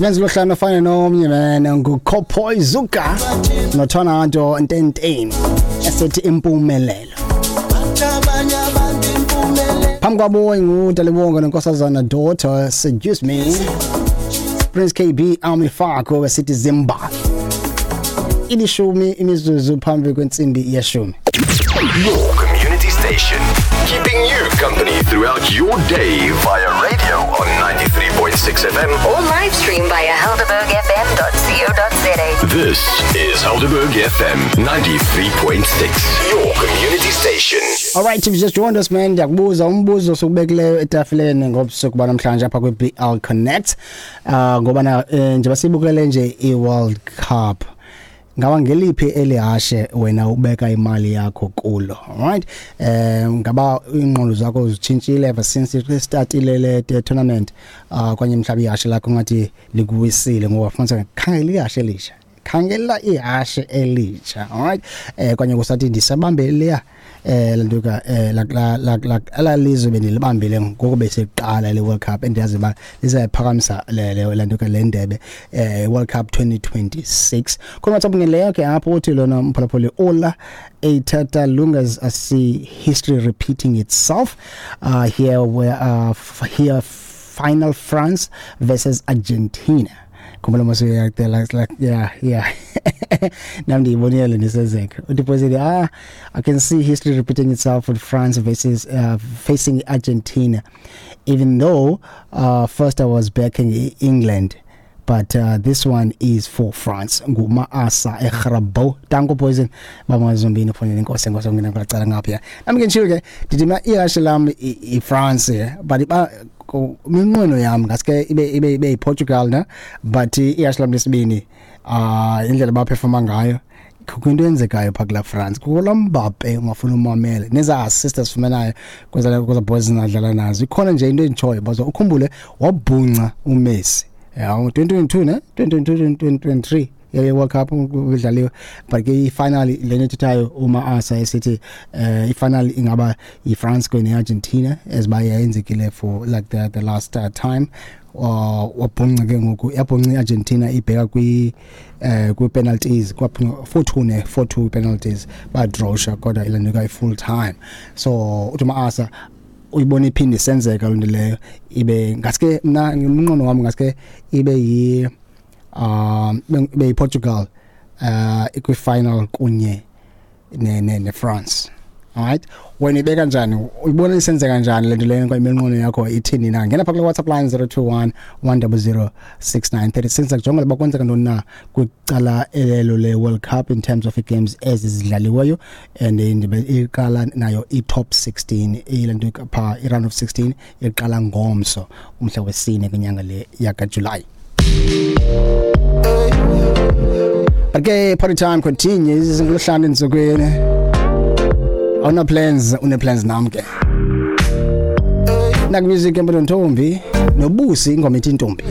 Menzi lohlanu afane nomnye man, nguCopoy Zuka noThonanto Ntenteni esethi impumelelo. Phambi kwabo nguDalibonga noNkosazana Daughter, Seduce Me. Prince KB Army Fako wesithi Zimbabwe. 9:50. Your community station, keeping you company throughout your day via radio on 93.6 FM. Or live stream via helderbergfm.co.za. This is Helderberg FM 93.6, your community station. All right, if you just joined us, man, ndiyakubuza umbuzo sokubekileyo etafileni ngobusuku banamhlanje apha kwi-BL Connect. Ngoba na njengoba sibukele nje i-World Cup, ngawa ngeliphi elihashe wena ubeka imali yakho kulo? Alright, ngaba ingqondo zakho zitshintshile ever since startile le tournament, kwanye mhlawumbe ihashe lakho ngathi likuwisile ngoba fumanisa khangela ihashe elisha, khangela ihashe elitsha. Alright, kwanye kusathi ndisabambe leya lantuka la la la la lizwe bendilibambile ngoku beseqala le World Cup, endiyazi ba lizayiphakamisa le lantuka le ndebe World Cup 2026. Khona WhatsApp ngeleyo ke apho uthi lona mphulaphuli ola etata lungas, I see history repeating itself here where here final France versus Argentina. Khumbula mos like yeah nam ndiyibonile le ndisezeka. Uthi positive, I can see history repeating itself with France versus facing Argentina, even though first I was backing England, but this one is for France. Nguma-asa egrabo danko poison bamazombini ufonele inkosi enkosi ngena kulacala ngapha. Nami ke nditshilo ke ndithi mna ihashe lam i-France, but iba iminqweno yam ngaske ibe yiPortugal na, but ihashe lam lesibini, indlela abaphefoma ngayo, kukho into eyenzekayo phaa kulaa France, kukho laa Mbappe ungafuni umamele neza assist asifumanayo kweza boys zinadlala nazo. Ikhona nje into enditshoyo bazo ukhumbule wabhunca uMessi ya 2022 ne 2022 2023 ye World Cup udlaliwe, but ke i-final lena ethethayo uma asa esithi i-final ingaba i-France kwenye Argentina as ba yenzekile for like the last time. Wabhunca ke ngoku, yabhunca i-Argentina ibheka kwi penalties, kwabhunca 4-2 ne 4-2 penalties, badrosha kodwa ilanduka i-full time. So uthi ma-asa uyibona iphinde isenzeka loo nto leyo, ibe ngaske mna umnqono wami ngaske ibe yi ibe yiPortugal ikwi-final kunye ne France. Alright, wena ibeka njani, uyibona isenzeka njani le nto leyo kwa iminqono yakho ithini na? Ngena pha kule WhatsApp line 021 100 6936, kujonga uba kwenzeka ntoni na kwicala elelo le World Cup in terms of games ezidlaliweyo, and iqala nayo i-top 16 ile nto pha i-round of 16 iqala ngomso umhla wesine kwinyanga le yakaJuly. But ke party time continues ngoluhlanu entsukwini. Awuna plans, une plans nam ke. Nak music empilo ntombi nobusi ingoma ithi intombi.